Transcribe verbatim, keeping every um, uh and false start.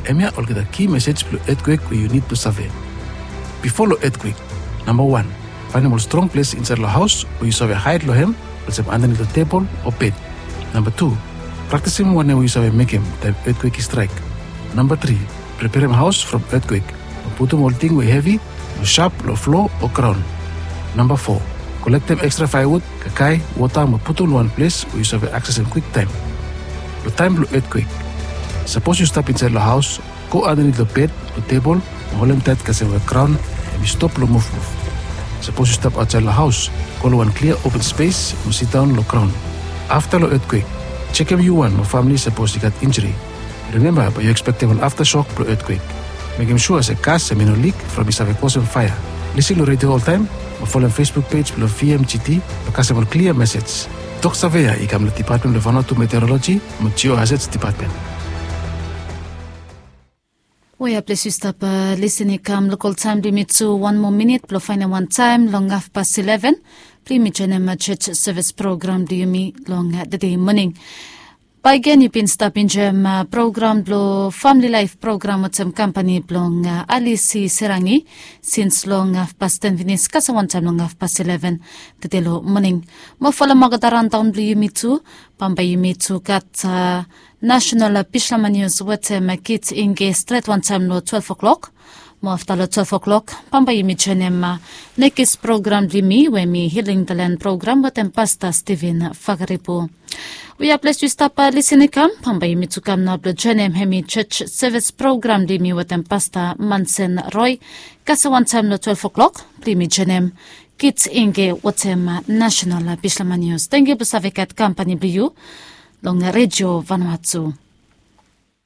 Hemia olgeta ki mesej blong etkwek we yu nid blong save. Bifo long etkwek, namba wan, faenem ol strong ples insaed long haos we yu save haed long hem, olsem andanit long tebol o bed. Namba tu, praktisim wanem we yu save mekem taem etkwek i straek. Namba tri, preperem haos from etkwek, mo putum ol ting we hevi o sap long flo o graon. Namba fo, kolektem ekstra faewud, kakae, wota mo putum long wan ples we yu save aksesem kwiktaem. Long taem blong etkwek, sapos yu stap insaed long haos, go andanit long bed o tebol mo holem taet kasem we graon hemi stop long muvmuv. Sapos yu stap aotsaed long haos, go long wan klia open spes mo sidaon long graon. Afta long etkwek, jekem yu wan mo famle sapos i gat injuri. Rimemba bae yu ekspektem ol aftasok blong etkwek. Mekem sua se gas hemi no lik from i save kosem faea. Lisin long redio oltaem mo folem Facebook pej blong V M G T blong kasem ol klia mesej. Tok save ya i kam long Dipatmen blong Vanuatu Meteoroloji mo Geohazards Dipatmen. Wea ples yu stap lisin i kam lokol taem blong yumi tu wan moa minit blong faenem wan taem long hafpas ileven blong yumi joenem church service program blong yumi long tede moning. Bae gen yu bin stap enjoem program blong famili laef program wetem kampani blong Alisi Serangi sins long hafpas ten finis kasem wan taem long hafpas ileven tede long moning. Mo folem olgeta raondaon blong yumi tu. Bambae yumi tu gat nasenal Bislama nius wetem Kit Inge stret wantaem long twelef o'klok. Mo afta long twelef o'klok bambae yumi joenem nekis program blong yumi we hemi Hiling the Land program wetem Pasta Steven Fakaripu. Wea ples yu stap lisin i kam, bambae yumi tu kam nao blong joenem hemi church service program blong yumi wetem Pasta Mansen Roe kasem wantaem long twelef o'klok blong yumi joenem Kit Inge wetem nasenal Bislama nius. Tangkiu blong save gat kampani blong yu long redio Vanuatu.